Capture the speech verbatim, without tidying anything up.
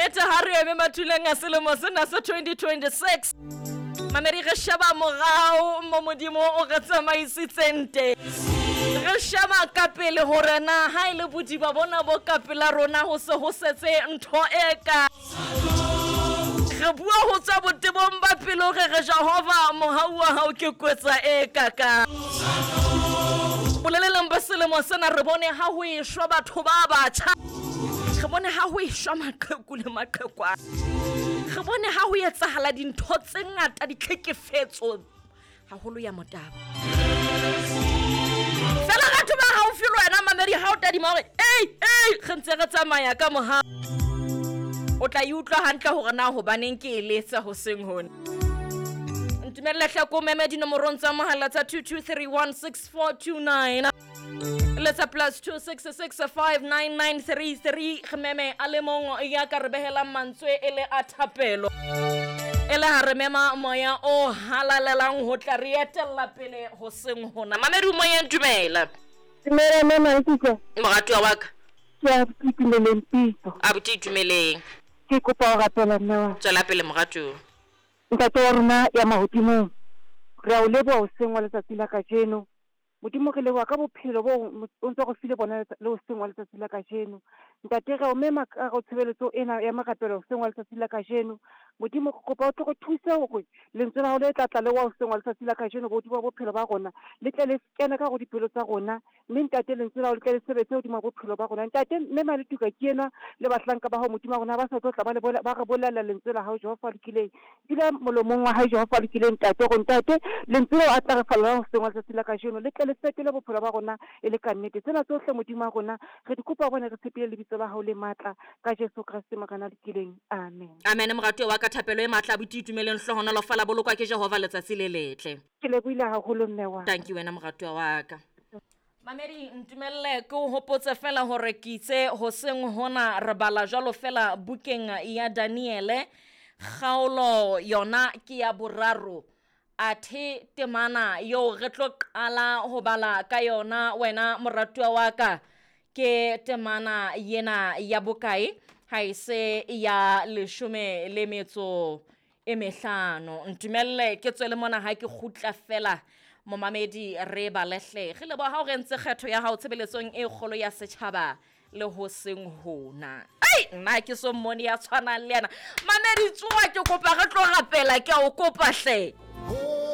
Nnete ha re eme mathuleng a selemo sena sa twenty twenty-six. Mamedi re sheba morao mo Modimo o re tsamaisitseng teng. Re sheba ka pele hore na ha e le bodiba bona bo ka pela rona ho se ho setse ntho e ka. Re bua ho tswa botebong ba pelo re re Jehova mohau wa hao ke kwetsa e kaka. Boleleleng ba selemo sena re bone ha ho eshwa batho ba batjha. Re bone ha ho eshwa maqheku le maqhekwana. Re bone ha ho etsahala dintho tse ngata ditlhekefetso haholo ya motabo. Fela batho ba haufi le wena mamedi ha o tadima hore ei ei re ntse re tsamaya ka mohau. O tla e utlwa hantle hore na hobaneng ke e letsa hoseng hona. Ntumelle hle ko meme dinomorong tsa mohala tsa two two three one six four two nine. Letsa plus two six six five nine nine three three. Re meme a le mong ya ka re behelang mantswe e le a thapelo. E le ha re mema moya o halalelang ho tla re etella pele hoseng hona. Mamedi o moyeng, dumela. Dumela mama Nkutlwa. Moratuwa wa ka. Ke a itumeleng pitso. Abuti itumeleng. Ke kopa ho rapela mme wa. Tswela pele moratuwa. Ntate wa rona ya mahodimong, re a o leboha hoseng wa letsatsi la kajeno. Modimo re leboha ka bophelo bo o ntso re file bona le hoseng wa letsatsi la kajeno. Ntate re o mema ka ho tshebeletso ena ya marapelo hoseng wa letsatsi la kajeno. Modimo re kopa o tle re thuse hore lentswe la hao le tla tla le wa hoseng wa letsatsi la kajeno godimo ha bophelo ba rona, le tle le kene ka hare ho dipelo tsa rona, mme ntate lentswe la hao le tle le sebetse hodimo ha bophelo ba rona. Ntate mme Maletuka ke enwa le bahlanka ba hao Modimo wa rona ba sa tlo tla ba le ba re bolella lentswe la hao Jehova a lokileng. Dula molomong wa hae Jehova a lokileng ntate, hore ntate lentswe leo a tla re fa lona hoseng wa letsatsi la kajeno le tle le fetole bophelo ba rona e le ka nnete. Tsena tsohle Modimo wa rona re di kopa hobane re tshepile lebitso la hao le matla ka Jesu Kreste Morena a lokileng. Amen. Amen. Moratuwa wa ka, thapelo e matla abuti itumeleng hlohonolofala bolokwa ke Jehova letsatsi le letle. Ke lebohile haholo mme wa. Thank you wena moratuwa wa ka. Mamedi ntumelle ke o hopotse fela hore ke itse hoseng hona re bala jwalo fela bukeng ya Daniele kgaolo yona ke ya boraro. Athe temana yo re tlo qala ho bala ka yona wena moratuwa wa ka ke temana yena ya bokae? Ha e se ya leshome le metso e mehlano. Ntumelle ke tswele mona ha ke kgutla fela momamedi re balehle. Re leboha ha o re ntse kgetho ya hao tshebeletsong e kgolo ya setjhaba le hoseng hona. Ai nna ke so mmone ya tshwanang le yena. Mamedi tsoha ke kopa re tlo rapela ke a o kopa hle.